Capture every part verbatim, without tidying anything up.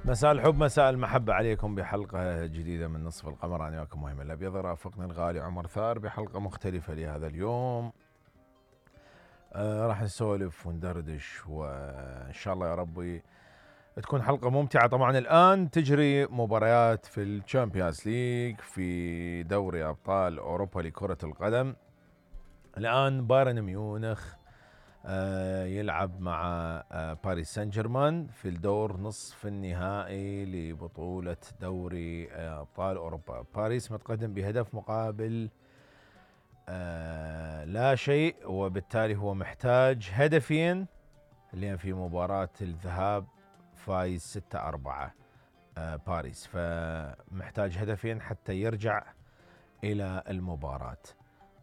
مساء الحب مساء المحبة عليكم بحلقة جديدة من نصف القمر. أنا وياكم مهم الأبيض، رافقني الغالي عمر ثار بحلقة مختلفة لهذا اليوم. آه راح نسولف وندردش وإن شاء الله يا ربي تكون حلقة ممتعة. طبعا الآن تجري مباريات في الشامبيونز ليج في دوري أبطال أوروبا لكرة القدم. الآن بايرن ميونخ آه يلعب مع آه باريس سان جيرمان في الدور نصف النهائي لبطولة دوري آه أبطال أوروبا. باريس متقدم بهدف مقابل آه لا شيء، وبالتالي هو محتاج هدفين، لأن في مباراة الذهاب فايز ستة أربعة آه باريس، فمحتاج هدفين حتى يرجع إلى المباراة.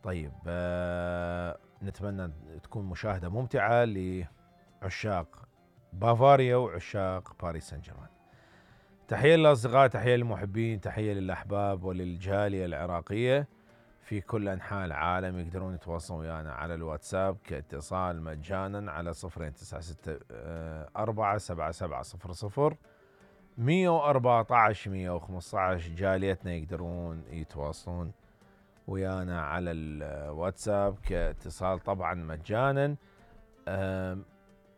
طيب آه نتمنى تكون مشاهدة ممتعة لعشاق بافاريا وعشاق باريس سان جيرمان. تحية للأصدقاء، تحية للمحبين، تحية للأحباب وللجالية العراقية في كل أنحاء العالم. يقدرون يتواصلون ويانا على الواتساب كاتصال مجانا على صفرين تسعة ستة أربعة سبعة سبعة صفر صفر مية وأربعة عشر مية وخمسة عشر. جاليتنا يقدرون يتواصلون ويانا على الواتساب كاتصال طبعا مجانا.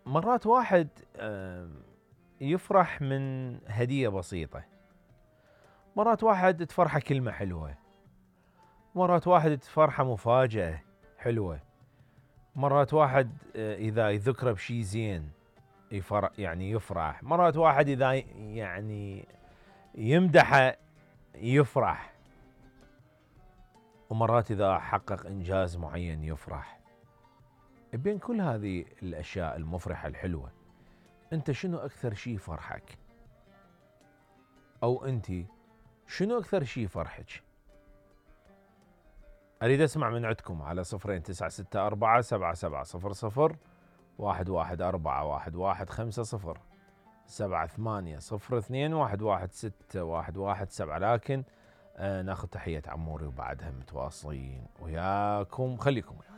مرات واحد يفرح من هدية بسيطة، مرات واحد تفرحه كلمة حلوة، مرات واحد تفرحه مفاجأة حلوة، مرات واحد إذا يذكره بشي زين يفرح يعني يفرح، مرات واحد إذا يعني يمدحه يفرح، ومرات إذا حقق إنجاز معين يفرح. بين كل هذه الأشياء المفرحة الحلوة، أنت شنو أكثر شيء فرحك؟ أو أنت شنو أكثر شيء فرحك؟ أريد أسمع من عندكم على صفرين تسعة ستة أربعة سبعة سبعة صفر صفر واحد واحد أربعة واحد واحد خمسة صفر سبعة ثمانية صفر اثنين واحد واحد ستة واحد واحد سبعة. لكن آه ناخذ تحية عموري وبعدها متواصلين وياكم، خليكم وياكم.